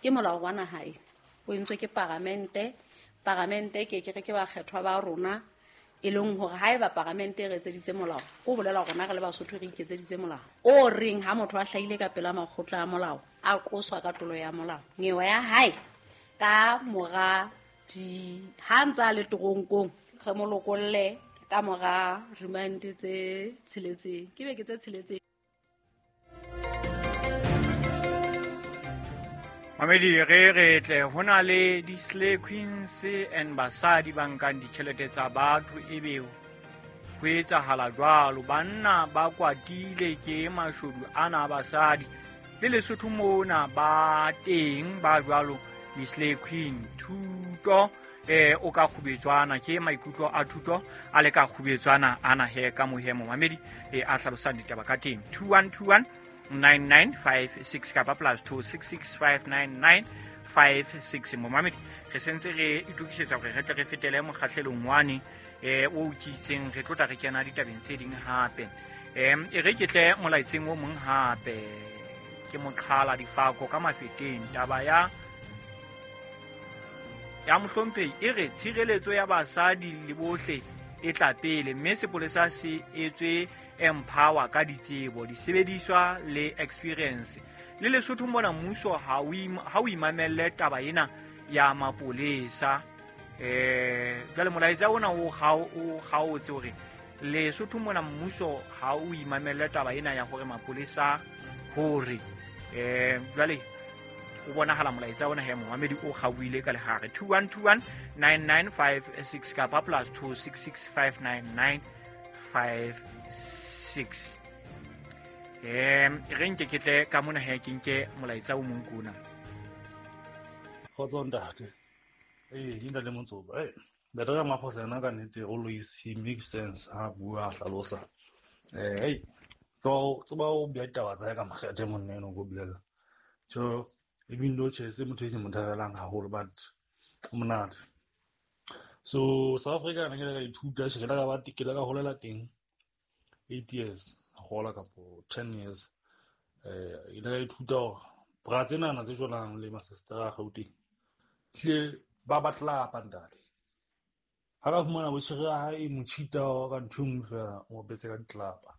Ke molao wa naha ena o entswe ke paramente. Paramente ke ke re ke bakgethwa ba rona, e leng hore haeba paramente e re etseditse molao, ko bolela rona re le Basotho re iketseditse molao o reng ha motho a hlahile ka pela makgotla a molao, a qoswa ka tlolo ya molao, nyewe ya hae ka mora di ha ntse a le toronkong, re mo lokolle ka mora remand tse tsheletseng, ke beke tse tsheletseng. Mamedi, re re tle ho na le di-slay queens and basadi ba nkang ditjhelete tsa batho, ebe ho etsahala jwalo. Banna ba kwatile ke mashodu ana a basadi. Le Lesotho mona ba teng ba jwalo, di-slay queen. Thuto o ka kgubetswana ke maikutlo a thuto a le ka kgubetswana ana he ka mohemo mamedi a hlalosang ditaba ka teng. 2121 9956 kapa plus 26659956. Momamedi, re sentse re itokisetsa hore re tle re fetele mokgahlelong wane o kitseng re tlotla re kena ditabeng tse ding hape. E re ke tle molaetseng o mong hape, ke moqhala difako ka Mafeteng. Taba ya mohlomphehi e re tshireletso ya basadi le bohle e tla pele, mme sepolesa se etswe empower ka ditsebo, disebediswa le experience. Le Lesotho mona mmuso ha o imamelle taba ena ya mapolesa. Jwale molaetsa ona o kgaotse hore Lesotho mona mmuso ha o imamelle taba ena ya hore mapolesa hore jwale o bonahala molaetsa ona he momamedi o kgaohile ka lehare. 2121 9956 kapa plus 26659956. Re nke ke tle ka mona he ke nke molaetsa o mong kuna. Kgotso ntate. Ee, ke ntate Motsoba. Ee, ntate Ramaphosa yena ka nnete always he makes sense ha bua a hlalosa. Hey, tseba o bea ditaba tsa hae ka makgethe monna eno ko bolela. So even though tjhe se motho e ke mo thabelang haholo, but o monate. So South Africa ne ke ile ka ithuta, tjhe, ke ile ka ba ke ile ka holela teng 8 years, gola kapo 10 years. Ile ka ithuta hore bra tsenana tse jwalang le masistera a Gauteng tlile ba batlapa ntate. Ha ka fumana botjhere ya hae e mo cheat-a ka ntho e nngwe fela, o betse ka ditlapa.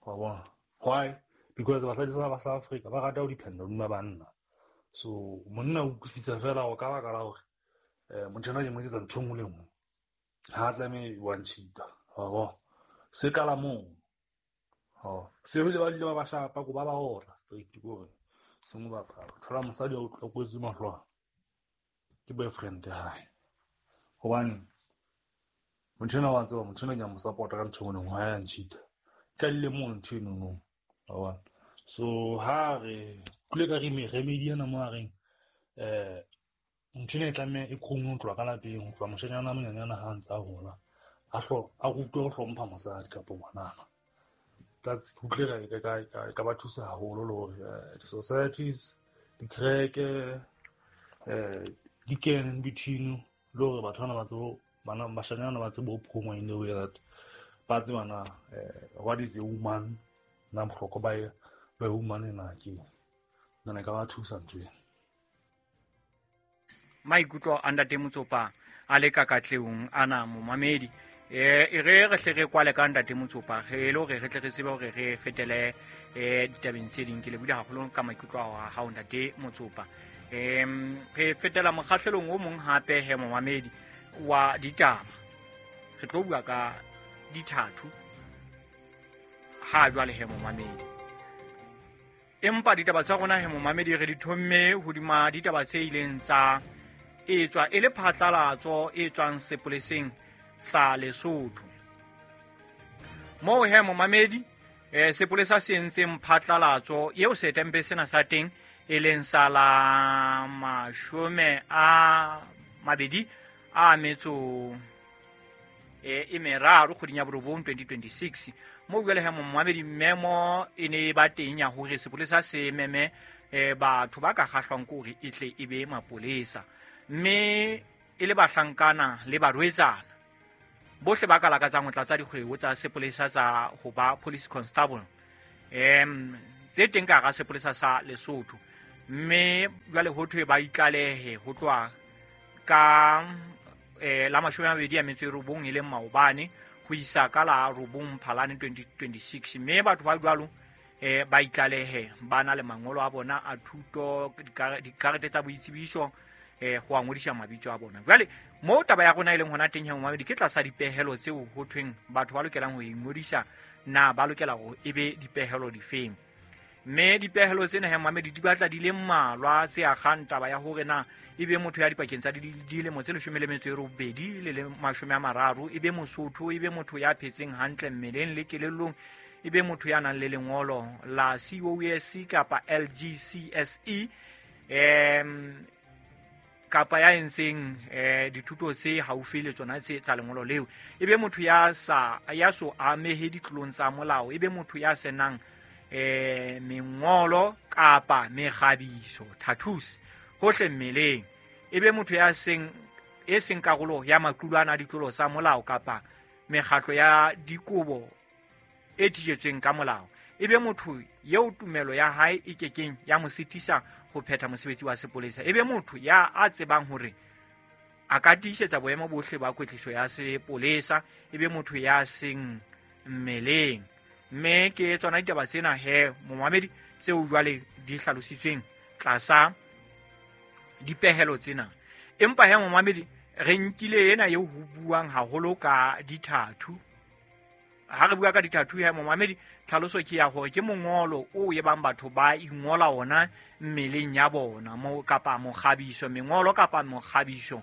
Wa bona? Why? Because basadi ba South Africa ba rata ho dependa hodima banna. So monna o utlwisisa fela hore ka baka la hore motho enwa ke mo etsetsa ntho e nngwe le nngwe, ha tlameha wa ncheat-a. Wa bona? Se qala moo. Se bile ba dule ba ba shapa ko ba ba otla straight ko hore sengwe bapala. Thola mosadi a utlwa kwetse mahlo a ke boyfriend ya hae. Hobane motho enwa wa tseba, motho enwa ke a mo support-a ka ntho e nngwe le nngwe, ha ya ncheat-a. Qadile moo ntho eno no. Wa bona? So ha re kule ka remedy ena mo a reng ntho ena e tlameha e khone ho tloha ka lapeng, ho tloha moshanyana a monyenyana ha ntse a hola, a rutwe ho hlompha mosadi kapa ngwanana. That's utlwe ka ba thusa haholo le hore di-societies, dikereke, di kene in between, le hore batho bana ba tsebe, bana bashanyana ba tsebe ho phungwa in the way that ba tseba na what is a woman, na bohlokwa ba woman ena ke eng. Nna ka ba thusa ntho ena. Maikutlo a ntate Motsopa a le ka katleong ana momamedi. E re re hle re kwale ka ntate Motsopa, re le hore re tle re tsebe hore re fetele ditabeng tse ding. Ke lebohile haholo ka maikutlo a hao ntate Motsopa. Re fetela mokgahlelong o mong hape he momamedi wa ditaba. Re tlo bua ka dithathu ha jwale he momamedi. Empa ditaba tsa rona he momamedi re di thomme hodima ditaba tse ileng tsa etswa e le phatlalatso e tswang sepoleseng sa Lesotho. Moo he momamedi sepolesa se entseng phatlalatso eo setempe sena sa teng e leng sa la 23 kgweding ya 9 2026. Moo jwale he momamedi memo e ne e ba teng ya hore sepolesa se meme batho ba ka kgahlwang ke hore e tle e be mapolesa, mme e le bahlankana le barwetsana bohle ba ka lakatsang ho tlatsa dikgwebo tsa sepolesa tsa ho ba police constable tse teng ka hara sepolesa sa Lesotho. Mme jwale ho thwe ba itlalehe ho tloha ka la 29 e leng maobane ho isa ka la 9 Phalane 2026. Mme batho ba jwalo ba itlalehe ba na le mangolo a bona a thuto, dikarete tsa boitsebiso, ho a ngodisa mabitso a bona. Jwale moo taba ya rona e leng hona teng he momamedi, ke tlasa dipehelo tseo ho thweng batho ba lokelang ho ingodisa, na ba lokela hore e be dipehelo difeng. Mme dipehelo tsena he momamedi di batla di le mmalwa tse akgang taba ya hore na e be motho ya dipakeng tsa dilemo tse 18 le 30, e be Mosotho, e be motho ya phetseng hantle mmeleng le kelellong, e be motho ya nang le lengolo la COSC kapa LGCSE, kapa ya entseng dithuto tse haufi le tsona tse tsa lengolo leo, e be motho ya so amehe ditlolong tsa molao, e be motho ya senang mengolo kapa mekgabiso, tattoos hohle mmeleng, e be motho ya seng e seng karolo ya maqulwana a ditlolo tsa molao kapa mekgatlo ya dikobo e thijetsweng ka molao, e be motho eo tumelo ya hae e kekeng ya mo sitisa ho phetha mosebetsi wa sepolesa, e be motho ya a tsebang hore a ka tiisetsa boemo bohle ba kwetliso ya sepolesa, e be motho ya seng mmeleng. Mme ke tsona ditaba tsena he momamedi tseo jwale di hlalositsweng tlasa dipehelo tsena. Empa he momamedi, re nkile ena eo ho buang haholo ka dithathu. Ha re bua ka dithathu he momamedi, tlhaloso ke ya hore ke mongolo o e bang batho ba ingola ona mmeleng ya bona, mo kapa mokgabiso, mengolo kapa mokgabiso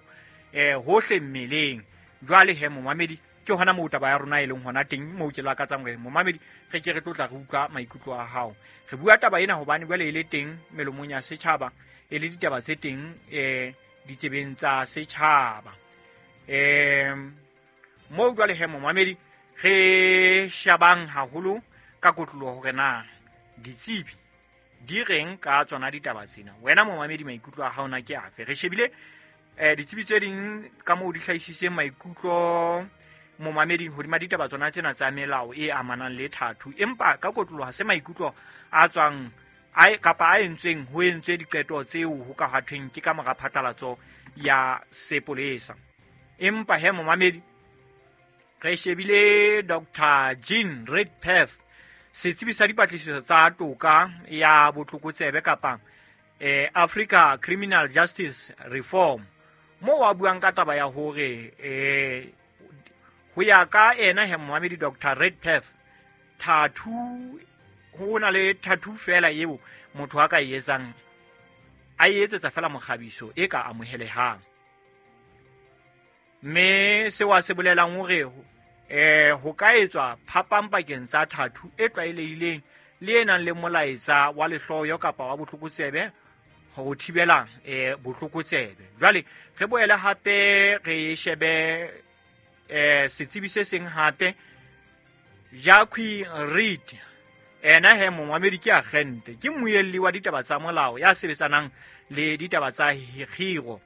hohle mmeleng. Jwale he momamedi, ke hona moo taba ya rona e leng hona teng, moo ke lakatsang hore momamedi re ke re tlotla re utlwa maikutlo a hao. Re bua taba ena hobane jwale e le teng melomong ya setjhaba, e le ditaba tse teng ditsebeng tsa setjhaba. Moo jwale he momamedi re shabang haholo ka kotloloho hore na ditsebi di reng ka tsona ditaba tsena. Wena momamedi, maikutlo a hao na ke afe? Re shebile ditsebi tse ding ka moo di hlahisitseng maikutlo momamedi hodima ditaba tsona tsena tsa melao e amanang le thathu, empa ka kotloloho ha se maikutlo a tswang kapa a entsweng ho entswe diqeto tseo ho ka hathweng ke ka mora phatlalatso ya sepolesa. Empa he momamedi, re shebile Dr. Jean Redpath, setsebi sa dipatlisiso tsa toka ya botlokotsebe kapa Africa Criminal Justice Reform, moo a buang ka taba ya hore ho ya ka ena he momamedi Dr. Redpath, thathu ho na le thathu fela eo motho a ka e etsang, a e etsetsa fela mokgabiso e ka amohelehang. Mme seo a se bolelang hore ho ka etswa phapang pakeng tsa thathu e tlwaelehileng le e nang le molaetsa wa lehloyo kapa wa botlokotsebe ho thibela botlokotsebe. Jwale re boele hape re shebe setsebi se seng hape, Jacques Reed. Ena he momamedi ke agente, ke mmuelli wa ditaba tsa molao ya sebetsanang le ditaba tsa kgiro.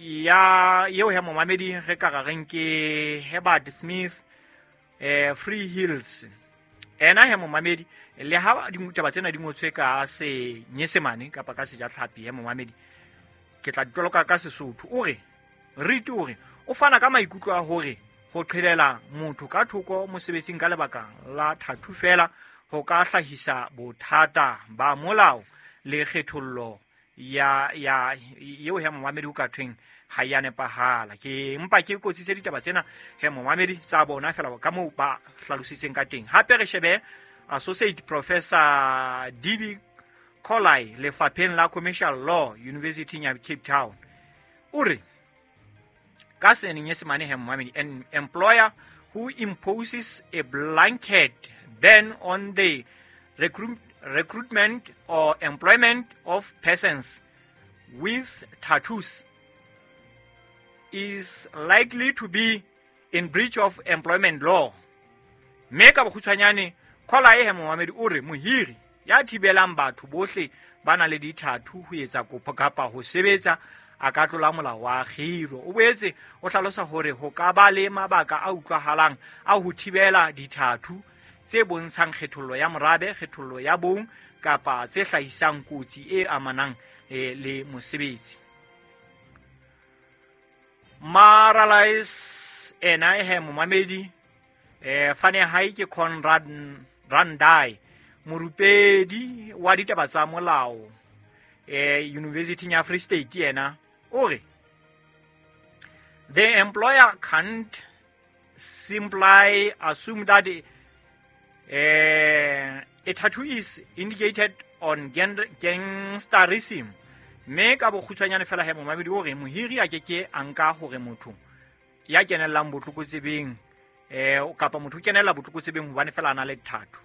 Ya eo he momamedi re ka reng ke Herbert Smith Free Hills. Ena he momamedi, le ha ditaba tsena di ngotswe ka Senyesemane kapa ka Sejatlhapi, he momamedi ke tla ditoloka ka Sesotho. O re Reed o re o fana ka maikutlo a hore ho qhelela motho ka thoko mosebetsing ka lebaka la thathu fela ho ka hlahisa bothata ba molao le kgethollo ya eo he momamedi ho ka thweng ha ya nepahala. Ke mpa ke kotsitse ditaba tsena he momamedi tsa bona fela ka moo ba hlalositseng ka teng. Hape re shebe Associate Professor D.B. Colley lefapheng la Commercial Law University ya Cape Town. O re ka Senyesemane he momamedi, an employer who imposes a blanket ban on the recruitment or employment of persons with tattoos is likely to be in breach of employment law. Mme ka bokgutshwanyane, Colley he momamedi o re mohiri ya thibelang batho bohle ba nang le dithathu ho etsa kopo kapa ho sebetsa a ka tlola molao wa kgiro. O boetse o hlalosa hore ho ka ba le mabaka a utlwahalang a ho thibela dithathu tse bontshang kgethollo ya morabe, kgethollo ya bong kapa tse hlahisang kotsi e amanang le mosebetsi. Maralais ena he momamedi fane hae ke Conrad Randai, morupedi wa ditaba tsa molao University ya Free State. Yena o re the employer can't simply assume that a tattoo is indicated on gangsterism. Mme ka bokgutshwanyane fela he momamedi o re mohiri a keke a nka hore motho ya kenellang botlokotsebeng kapa motho o kenella botlokotsebeng hobane fela a na le tattoo.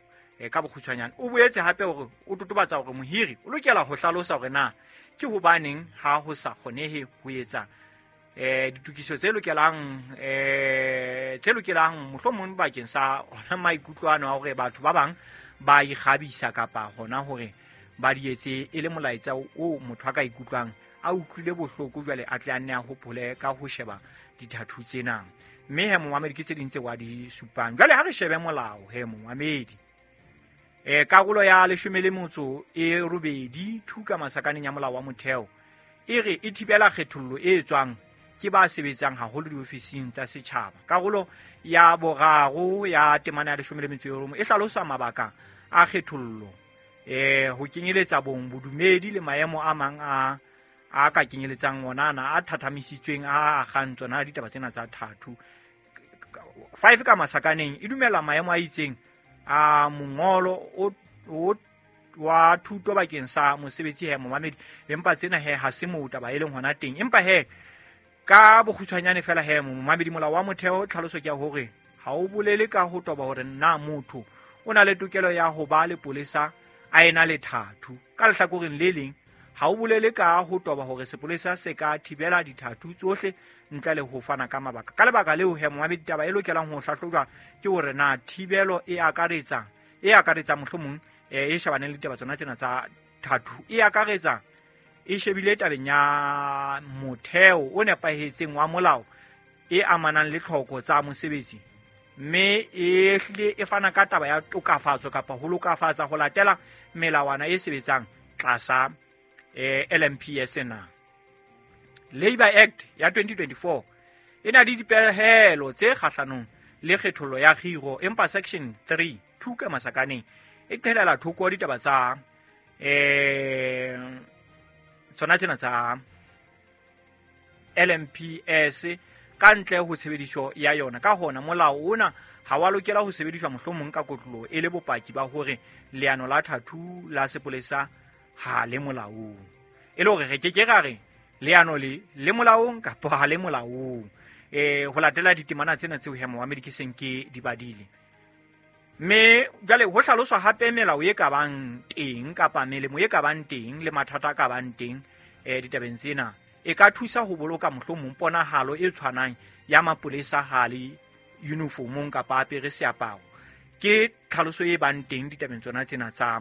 Ka bokgutshwanyane o boetse hape hore o totobatsa hore mohiri o lokela ho hlalosa hore na ke hobaneng ha ho sa kgonehe ho etsa ditokiso tse lokelang mohlomong bakeng sa hona maikutlo ano a hore batho ba bang ba ikgabisa kapa hona hore ba di etse e le molaetsa o motho a ka ikutlwang a utlwile bohloko jwale a tle a nne a hopole ka ho sheba dithathu tsena. Mme he momamedi ke tse ding tse wa di supang. Jwale ha re shebe molao he momamedi, karolo ya 18 thuka masakaneng ya molao wa motheo e re e thibela kgethollo e tswang ke ba sebetsang haholo diofising tsa setjhaba. Karolo ya 3 ya temana ya 19 e hlalosa mabaka a kgethollo ho kenyeletsa bong, bodumedi le maemo a mang a ka kenyeletsang ona ana a thathamisitsweng a agang tsona ditaba tsena tsa thathu. 5 ka masakaneng e dumela maemo a itseng a mongolo o wa thuto bakeng sa mosebetsi he momamedi, empa tsena he ha se moo taba e leng hona teng. Empa he ka bokgutshwanyane fela he momamedi, molao wa motheo tlhaloso ke ya hore ha o bolele ka ho toba hore na motho o na le tokelo ya ho ba lepolesa a ena le thathu. Ka lehlakoreng le leng ha o bolele ka ho toba hore sepolesa se ka thibela dithathu tsohle ntle le ho fana ka mabaka. Ka lebaka leo he momamedi, taba e lokelang ho hlahlojwa ke hore na thibelo e akaretsa mohlomong e shebaneng le ditaba tsona tsena tsa thathu e akaretsa e shebile tabeng ya motheo o nepahetseng wa molao e amanang le tlhoko tsa mosebetsi, mme e hlile e fana ka taba ya tokafatso kapa ho lokafatsa ho latela melawana e sebetsang tlasa LMPS na. Labour Act ya 2024 e na le dipehelo tse kgahlanong le kgethollo ya kgiro, empa section 3 thuka masakaneng e qhelela thoko ditaba tsa tsona tsena tsa LMPS ka ntle ho tshebediso ya yona. Ka hona molao ona ha wa lokela ho sebediswa mohlomong ka kotloloho e le bopaki ba hore leano la thathu la sepolesa ha le molaong. E le hore re ke ke ra re leano le molaong kapa ha le molaong ho latela ditemana tsena tseo he momamedi ke seng ke di badile. Mme jwale ho hlaloswa hape melao e ka bang teng kapa melemo e ka bang teng le mathata a ka bang teng ditabeng tsena. E ka thusa ho boloka mohlomong ponahalo e tshwanang ya mapolesa ha le uniformong kapa apere seaparo. Ke tlhaloso e bang teng ditabeng tsona tsena tsa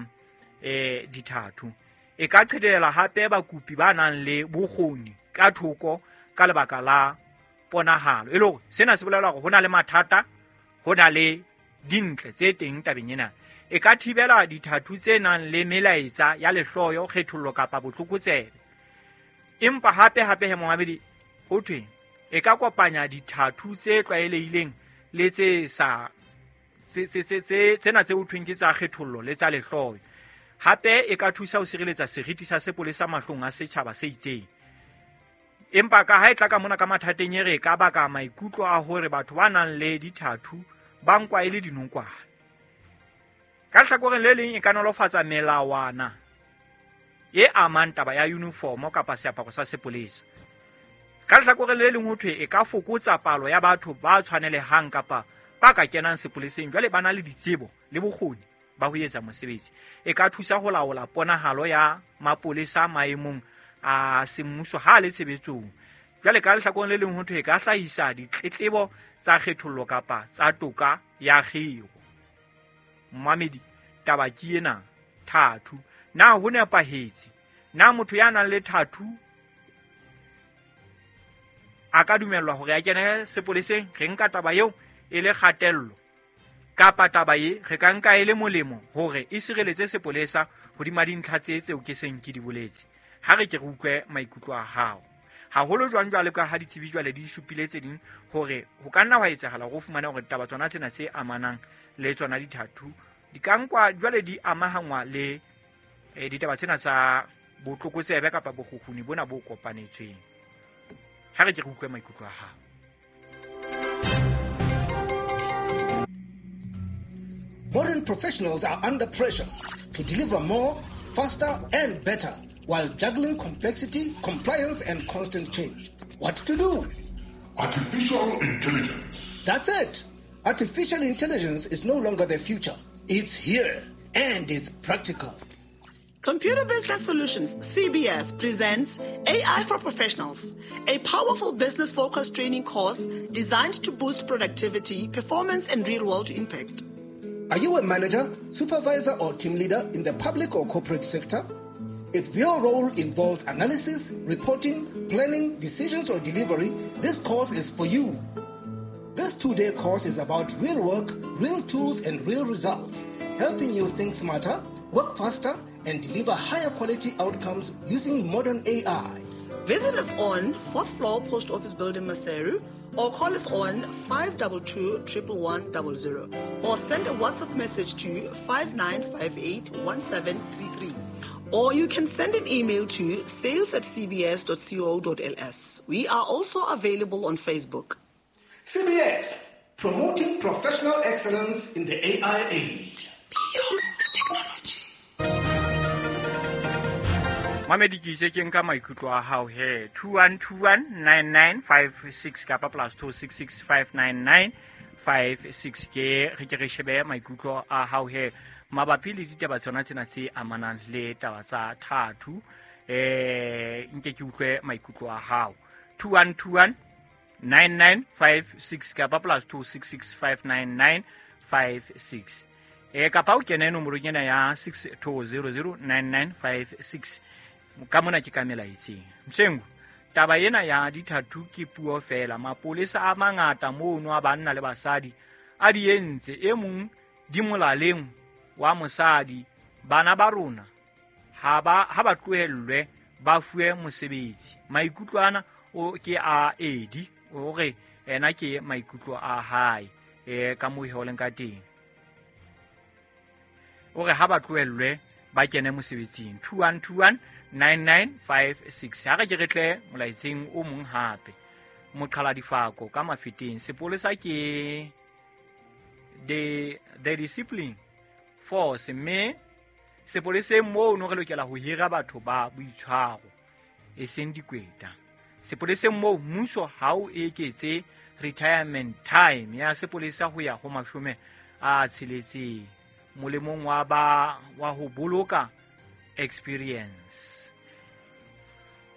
dithathu. E ka qhedela hape bakopi ba nang le bokgoni ka thoko ka lebaka la ponahalo. E le hore sena se bolela hore ho na le mathata, ho na le dintle tse teng tabeng ena. E ka thibela dithathu tse nang le melaetsa ya lehloyo, kgethollo kapa botlokotsebe. Empa hape hape he momamedi ho thwe e ka kopanya dithathu tse tlwaelehileng le tse sa tsena tse ho thweng ke tsa kgethollo le tsa lehloyo. Hape e ka thusa ho sireletsa seriti sa sepolesa mahlong a setjhaba se itseng. Empa ka ha e tla ka mona ka mathateng e re ka baka maikutlo a hore batho ba nang le dithathu ba nkwa e le dinokwane. Ka lehlakoreng le leng e ka nolofatsa melawana e amang taba ya uniform kapa seaparo sa sepolesa. Ka lehlakoreng le leng ho thwe e ka fokotsa palo ya batho ba tshwanelehang kapa ba ka kenang sepoleseng jwale ba na le ditsebo le bokgoni ba ho etsa mosebetsi. E ka thusa ho laola ponahalo ya mapolesa maemong a semmuso ha le tshebetsong. Jwale ka lehlakoreng le leng ho thwe e ka hlahisa ditletlebo tsa kgethollo kapa tsa toka ya kgiro. Momamedi, taba ke ena thathu. Na ho nepahetse? Na motho ya nang le thathu a ka dumellwa hore a kene sepoleseng? Re nka taba eo e le kgatello Kapa taba e re ka nka e le molemo hore e sireletse sepolesa hodima dintlha tse tseo ke seng ke di boletse. Ha re ke re utlwe maikutlo a hao. Haholo jwang jwale ka ha ditsebi jwale di supile tse ding hore ho ka nna hwa etsahala hore o fumane hore ditaba tsona tsena tse amanang le tsona dithathu di ka nkwa jwale di amahangwa le ditaba tsena tsa botlokotsebe kapa bokgukguni bona bo kopanetsweng. Ha re ke re utlwe maikutlo a hao. Modern professionals are under pressure to deliver more, faster, and better while juggling complexity, compliance, and constant change. What to do? Artificial intelligence. That's it. Artificial intelligence is no longer the future. It's here, and it's practical. Computer Business Solutions, CBS, presents AI for Professionals, a powerful business-focused training course designed to boost productivity, performance, and real-world impact. Are you a manager, supervisor, or team leader in the public or corporate sector? If your role involves analysis, reporting, planning, decisions, or delivery, this course is for you. This 2-day course is about real work, real tools, and real results, helping you think smarter, work faster, and deliver higher quality outcomes using modern AI. Visit us on 4th floor Post Office Building, Maseru, or call us on 522 11100, or send a WhatsApp message to 5958 1733. Or you can send an email to sales@cbs.co.ls. We are also available on Facebook. CBS, promoting professional excellence in the AI age. Beyond technology. Mamedi ke itse ke nka maikutlo a hao he 21219956 kapa +266 59956 ke re ke re shebe maikutlo a hao he mabapi le ditaba tsona tsena tse amanang le taba tsa thathu. Nke ke utlwe maikutlo a hao 21219956 kapa +266 59956. Kapa o kene nomorong ena ya 62009956. Ka mona ke ka melaetseng. Msengu, taba ena ya dithathu ke puo fela. Mapolesa a mangata mono a banna le basadi a di entse, e mong di molaleng wa mosadi. Bana ba rona ha ba tlohellwe ba fuwe mosebetsi. Maikutlo ana o ke a Edi hore ena ke maikutlo a hae ka moo ho leng ka teng. O re ha ba tlohellwe ba kene mosebetsing. 21219956. Ha re ke re tle molaetseng o mong hape. Moqhala difako ka mafeteng. Sepolesa ke the discipline force, mme sepoleseng moo no re lokela ho hira batho ba boitshwaro e seng dikweta. Sepoleseng moo mmuso ha o eketse retirement time ya sepolesa ho ya ho 60 molemong wa ba wa ho boloka experience.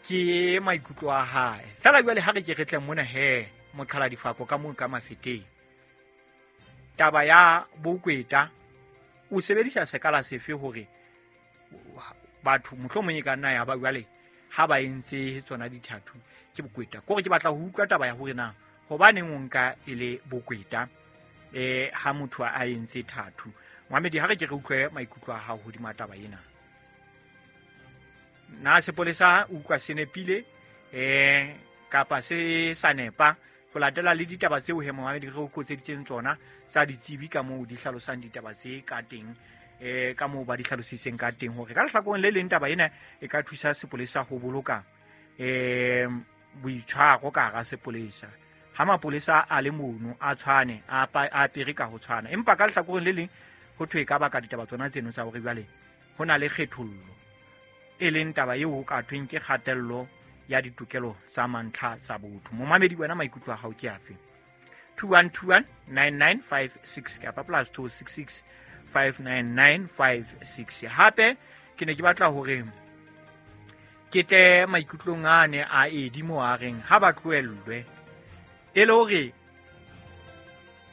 Ke maikutlo a hae. Fela jwale ha re ke re tle mona he moqhala difako ka moo ka mafeteng. Taba ya bokweta o sebedisa sekala sefe hore batho mohlomong e ka nna ya ba jwale ha ba entse tsona dithathu ke bokweta. Kore ke batla ho utlwa taba ya hore na hobaneng o nka e le bokweta ha motho a entse thathu. Mohamedi, ha re ke re utlwe maikutlo a hao hodima taba ena. Na sepolesa utlwa se nepile kapa se sa nepa ho latela le ditaba tseo he Mohamedi re o kotseditseng tsona tsa ditsebi ka moo di hlalosang ditaba tse ka teng, ka moo ba di hlalositseng ka teng hore ka lehlakoreng le leng taba ena e ka thusa sepolesa ho boloka boitshwaro ka hara sepolesa. Ha mapolesa a le mono a tshwane a apere ka ho tshwana, empa ka lehlakoreng le leng ho thwe ka baka ditaba tsona tseno tsa hore jwale ho na le kgethollo, e leng taba eo ho ka thweng ke kgatello ya ditokelo tsa mantlha tsa botho. Momamedi wena maikutlo a hao ke afe? 21219956 kapa +266 59956. Hape ke ne ke batla hore ke tle maikutlong a ne a Edi mo a reng ha ba tlohellwe, e le hore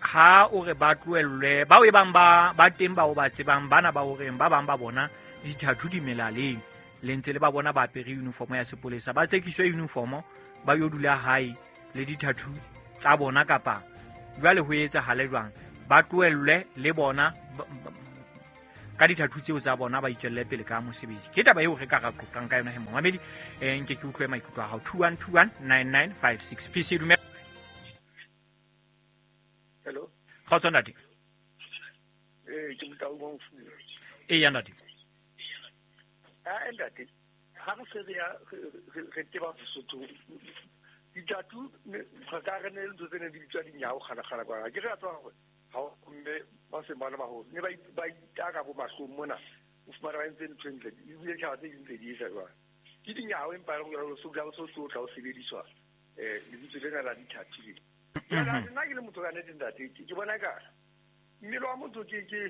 ha o re ba tlohellwe bao e bang ba teng bao ba tsebang bana ba horeng ba bang ba bona dithathu di melaleng le ntse le ba bona ba apere uniform ya sepolesa, ba tsekiswe uniform ba yo dula hae le dithathu tsa bona kapa jwale ho etsahale jwang? ba tlohellwe le bona ka dithathu tseo tsa bona ba itswelle pele ka mosebetsi. Ke taba eo re ka ra qoqang ka yona he momamedi. Nke ke utlwe maikutlo a hao. 21219956. PC dumela. Hello. Kgotso ntate. Ke Motau wa Mofula. Eya ntate. Ah ntate, ha re se re teba Sesotho ditatu re ka re ne le ntho tse ne di bitswa dinyao kgala-kgala kwana. Ke re a tswa hore ha mme ba seng ba le baholo ne ba itaka bo mahlong mona, o fumana ba entse ntho e ntle ebile tjhaba tse ding tse di etsa jwang. Ke dinyao empa e le so tla so tla o sebediswa lebitso lena la dithathu le. Nna ke le motho ka nnete ntate, ke bona ka mmele wa motho ke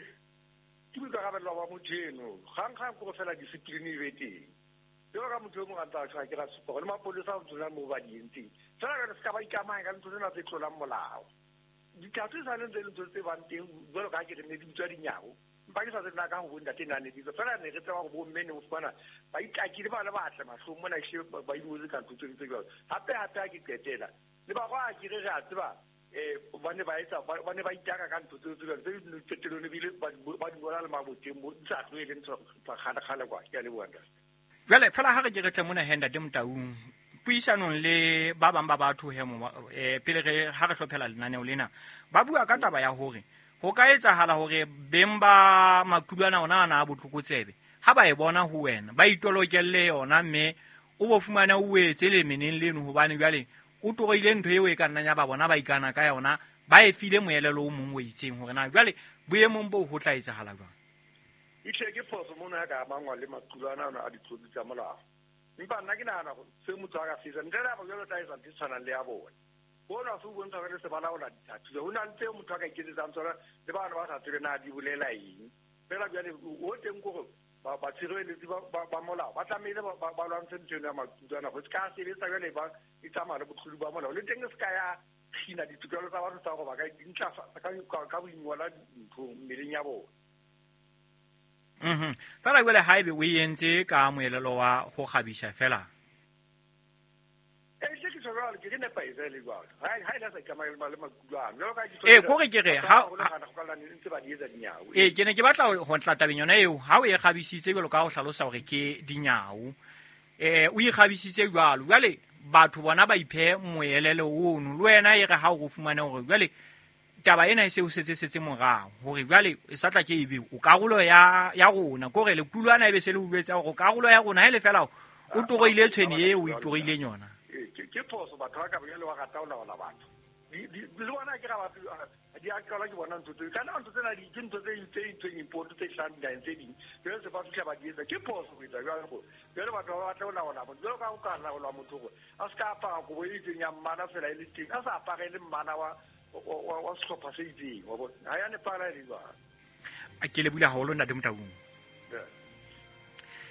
boikarabelo ba motho eno. Gang-gang kore fela discipline e be teng. Jwalo ka motho e mong a ntse a tjho, ha ke ra supa hore le mapolesa a tsona moo ba di entseng. Fela jwale se ka ba ikamahanya ka dintho tsena tse tlolang molao. Dithathu e sa le ntse le ntho tse bang teng jwalo ka ha ke re ne di bitswa dinyao. Empa ke sa tsebe na ka ho bo ntate na ne di bitswa. Fela ne re tseba hore bo mme ne o fumana ba itakile ba le batle mahlong mona ehlile ba ingotse ka ntho tse jwalo. Hape hape ha ke qetela le ba kwa ke re re a tseba ba ne ba etsa ba ne ba itaka ka ntho tseo tse tse qetellong ebile ba di ngola le maboteng mo di sa tlohele ntho tsa kgale-kgale kwa. Ke a leboha ntate. Jwale fela ha re ke re tle mona he ntate Motaung, puisanong le ba bang ba batho he mo pele re ha re hlophela lenaneo lena, ba bua ka taba ya hore ho ka etsahala hore beng ba maqulwana ona ana a botlokotsebe ha ba e bona ho wena ba itolokelle yona, mme o bo fumana o etse lemeneng leno, hobane jwale o toroile ntho eo e ka nnang ya ba bona ba ikana ka yona, ba e file moelelo o mong o itseng hore na jwale boemong boo ho tla etsahala jwang. Ehlile ke phoso mona ya ka amangwa le maqulwana ana a ditlodi tsa molao. Empa nna ke nahana hore se motho a ka se etsa ntle le ha jwalo tla etsa ntho e tshwanang le ya bona. Bona se o bontsha hore le se ba laola dithathu. Ho na le tseo motho a ka iketsetsang tsona le bana ba sa tsebe na di bolela eng. Fela jwale ho teng kore batshireletsi ba molao ba tlamehile ba lwantshe ntho eno ya maqulwana go se ka sebetsa jwale ba e tsamaya le botlodi ba molao. Le teng e se ka ya kgina ditokelo tsa batho tsa hore ba ka intlafatsa ka boingola dinthong mmeleng ya bona. Fela jwale haebe o e entse ka moelelo wa ho kgabisa fela. Kore ke re ha ke ne ke batla ho ntla tabeng yona eo, ha o e kgabisitse jwalo ka ho hlalosa hore ke dinyao, o e kgabisitse jwalo, jwale batho bona ba iphe moelelo ono, le wena e re ha o fumane hore jwale taba ena e se o setse morao hore jwale e sa tla ke ebe o karolo ya rona, kore lequlwana ebe se le utlwetsa hore karolo ya rona ha ile fela o toroile tshwene e o itoroileng yona. Ke phoso batho ba ka bjale wa rata ho laola batho. Le bona ke ga batho di a qala ke bona ntho tse kana ntho tsena di ke ntho tse itseng import tse hlahang dinaheng tse ding. Jwale se ba fihla ba di etsa. Ke phoso ho etsa jwalo go. Jwale batho ba batla ho laola motho. Jwalo ka ho ka laola motho gore a se ka apara kobo e itseng ya mmala fela e le teng, a sa apare le mmala wa sehlopha se itseng, wa bona. Ha ya nepala e le jwalo. A ke lebile haholo ntate Motaung.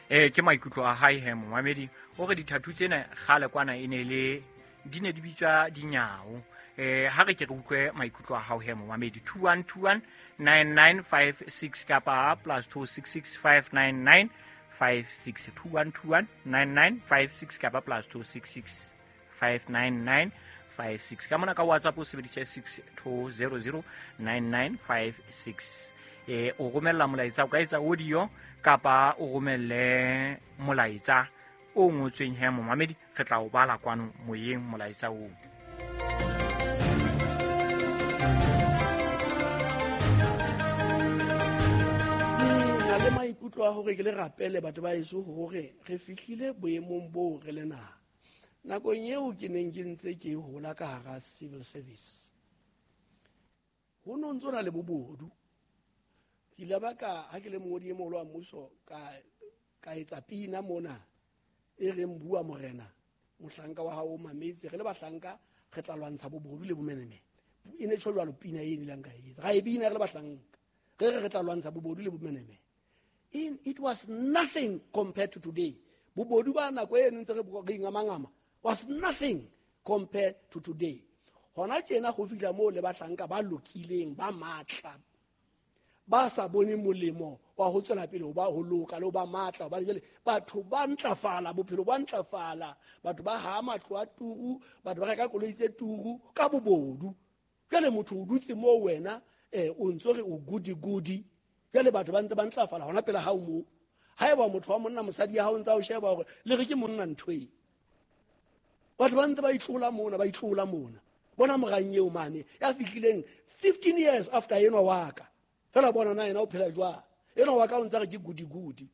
Ke maikutlo a hae he momamedi, o re dithathu tsena kgale kwana e ne le di ne di bitswa dinyao. Ha re ke re utlwe maikutlo a hao he momamedi. 21219956 kapa +266 599 56 21219956 kapa +266 599 56. Ka mona ka WhatsApp o sebedisa 6200 9956. O romella molaetsa, o ka etsa audio kapa o romelle molaetsa o ngotsweng he momamedi, re tla o bala kwano moyeng molaetsa oo. Ke na le maikutlo a hore ke le rapele batho ba heso hore re fihlile boemong boo re le naha. Nakong eo ke neng ke ntse ke hola ka hara civil service, ho no ntso na le bobodu. Ke ile ba ka ha ke le mongodi e moholo wa mmuso ka etsa pina mona e reng bua morena mohlanka wa hao o mametse, re le bahlanka re tla lwantsha bobodu le bomenemene. E ne tjho jwalo pina e nileng ka etsa, ra e bina re le bahlanka, re re re tla lwantsha bobodu le bomenemene. It was nothing compared to today. Bobodu ba nako e ntse re ingamangama was nothing compared to today. Hona tjena ho fihla moo le bahlanka ba lokileng ba matla ba sa bone molemo wa ho tswela pele ho ba ho loka le ho ba matla, hobane jwale batho ba ntlafala, bophelo ba ntlafala, batho ba ha matlo a turu, batho ba reka koloi tse turu ka bobodu. Jwale motho o dutse moo wena O ntso re o goody goody. Jwale batho ba ntse ba ntlafala hona pela hao moo. Haeba motho wa monna mosadi ya hao ntsa o sheba hore le re ke monna ntho e. Batho ba ntse ba itlola mona, ba itlola mona. Bona morang eo mane ya fihlileng 15 years after enwa wa ka. Fela bona na yena o phela jwang. Enwa wa ka o ntse re ke goody goody.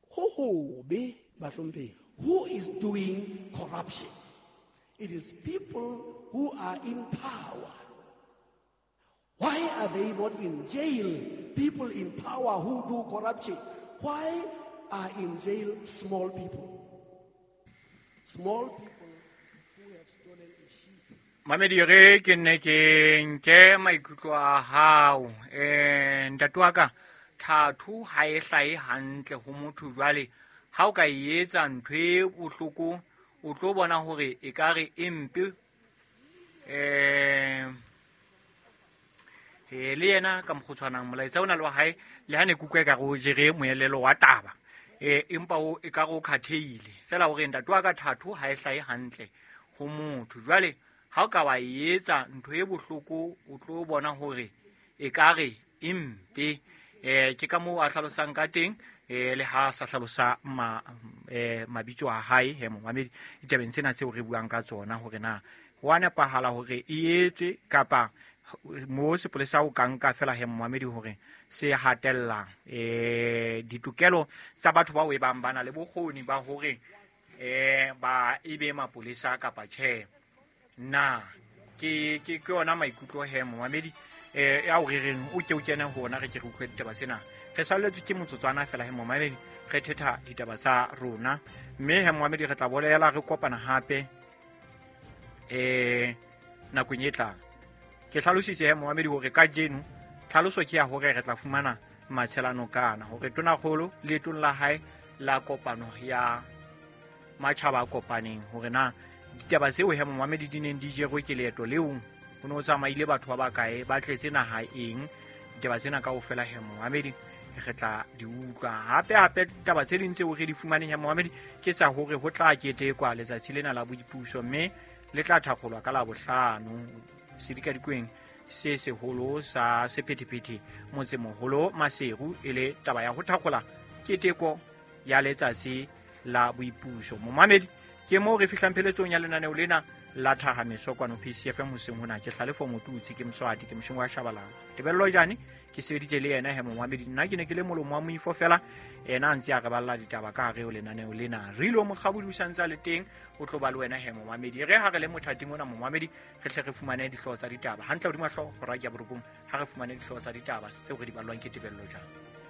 Ho hobe bahlomphehi. Who is doing corruption? It is people who are in power. Why are they not in jail? People in power who do corruption. Why are in jail small people? Small people who have stolen a sheep. Mamedi re ke nne ke nke maikutlo a hao. Ntate wa ka, thathu ha e hlahe hantle ho motho jwale. Ha o ka e etsa ntho e bohloko, o tlo bona hore e ka re e mpe. Le yena ka mokgotshwanang molaetsa ona le wa hae le ha ne ke utlwa ekare o jere moelelo wa taba. Empa o ekare o khathehile. Fela hore ntate wa ka thathu ha e hlahe hantle ho motho. Jwale ha o ka wa e etsa ntho e bohloko, o tlo bona hore ekare e mpe. Ke ka moo a hlalosang ka teng. Le ha sa hlalosa mabitso a hae he momamedi ditabeng tsena tseo re buang ka tsona hore na ho a nepahala hore e etswe kapa mo sepolesa o ka nka fela he momamedi hore se hatella ditokelo tsa batho bao e bang ba na le bokgoni ba hore ba ebe mapolesa kapa tjhe. Na ke yona maikutlo he momamedi ya o rereng o ke o kene ho ona re ke re utlwe ditaba tsena. Re salletswe ke motsotswana fela he momamedi re thetha ditaba tsa rona mme he momamedi re tla bolela re kopana hape nakong e tlang. Ke hlalositse he momamedi hore kajeno tlhaloso ke ya hore re tla fumana matshelano kana hore tonakgolo leetong la hae la kopano ya matjhaba a kopaneng hore na ditaba tseo he momamedi di neng di jerwe ke leeto leo ho no tsamaile batho ba bakae ba tletse naha eng. Ditaba tsena kaofela he momamedi re tla di utlwa. Hape hape taba tse ding tseo re di fumaneng he momamedi ke tsa hore ho tla ketekwa letsatsi lena la boipuso mme le tla thakgolwa ka Labohlano sedikadikweng se seholo sa sephethephethe motsemoholo Maseru e le taba ya ho thakgola keteko ya letsatsi la boipuso. Momamedi ke moo re fihlang pheletsong ya lenaneo lena la Thahameso kwano PCFM hoseng hona. Ke Hlalefo Motutsi, ke Mswati, ke Moshong wa Shabalala. Tebello Jane ke sebeditse le yena he momamedi. Nna ke ne ke le molomo wa moifo fela, yena a ntse a re balla ditaba ka hare ho lenaneo lena. Rilo Mokgabodi o santse a le teng, o tlo ba le wena he momamedi. Re ha re le mothating ona momamedi, re hle re fumane dihlooho tsa ditaba hantle hodima hlooho hora ya borobong, ha re fumane dihlooho tsa ditaba tseo re di ballwang ke Tebello Jane.